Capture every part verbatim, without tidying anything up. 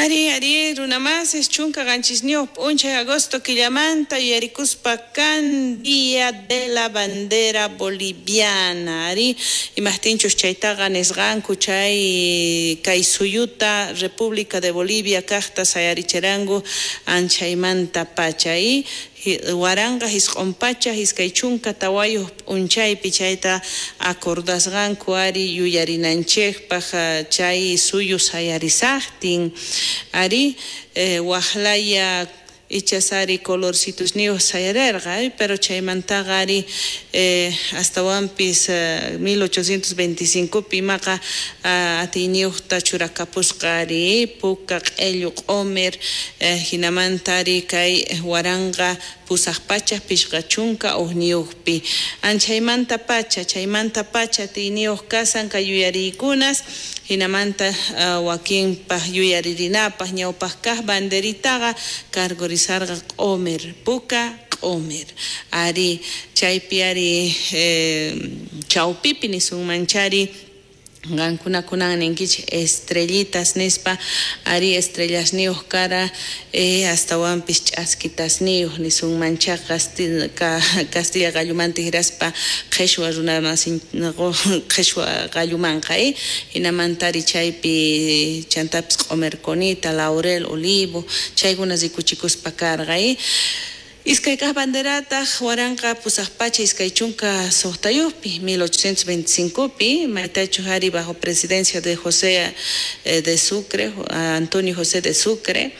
Ari, ari, runamasis chunka qanchisniyuq p'unchay agosto killamanta yuyarikuspa kan Día de la Bandera Boliviana. Ari, imajtinchus chaytaqa nisqanku chay kay suyuta República de Bolivia kaqta sayarichiranku anchaymanta pacha y waranqa jisq'un pacha iskay chunka tawayuq p'unchaypi chayta acordasqanku ari yuyarinanchikpaq chay suyu sayarisaqtin ari eh, waqlaya ichasari colorcitusniyuq sayarirqa pero chaymantaqa ari eh, astawanpis eh, mil ochocientos veinticincopi imaqa atiyniyuqta churakapusqa ari puka q'illu q'umir eh, hinamanta ari kay waranqa pusaq pacha pishqa chunka uqniyuqpi anchaymanta pacha chaymanta pacha atiyniyuq kasan kay yuyariykunas hinamanta uh, wakinpaq yuyaririnapaq ñawpaq kaq banderitaqa kargurisarqa q'umir puka q'umir ari chaypi ari eh, chawpipi nisunmanchari qankunakunan ninkichik estrellitas nispa ari estrellasniyuq kara eh, astawanpis ch'askitasniyuq nisunmancha castilla qallumanta hiraspa qhishwa runamasin qhishwa qallumanqa eh? Hinamanta ari chaypi chantapis q'umirkunita laurel olivo chaykuna rikuchikuspa karqa eh? Iskay kaq banderataq waranqa pusaq pacha iskay chunka suqtayuqpi mil ochocientos veinticincopi maytachu ari bajo presidencia de José de Sucre, Antonio José de Sucre,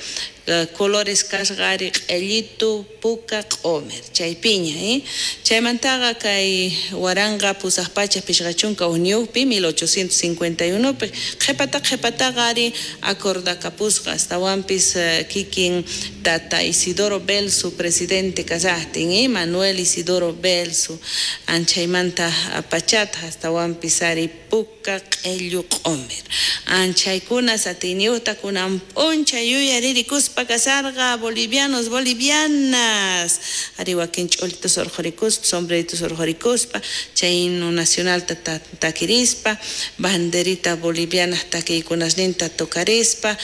colores kasqa ari q'illitu puka q'umir chaypiña eh? Chaymantaqa kay waranqa pusaq pacha pishqa chunka uqniyuqpi mil ochocientos cincuenta y unopi qhipata qhipataqa ari acordakapusqa astawanpis kikin tata Isidoro Belzu presidente kasaqtin eh? Manuel Isidoro Belzu anchaymanta pachata astawanpis ari puka q'illu q'umir anchaykunas atiyniyuqta kunan p'unchay yuyaririkuspa kasarqa bolivianos bolivianas ari wakin ch'ulitus urqhurikuspa sombreritos urqhurikuspa chay himno nacionalta takirispa banderita boliviana takiykunasninta tocarispa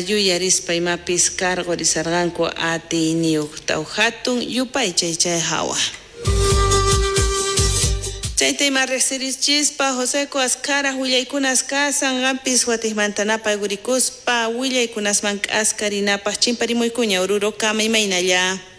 yuyarispa imapis karqurisarqanku atiyniyuqta hatun yupaychay chay hawa. Chayta ima riqsirichispa Joseco Azcara willaykunas kasan qampis watiqmanta gurikuspa willaykunasman k'askarinapaq chimparimuykuña Oruro kama imaynalla.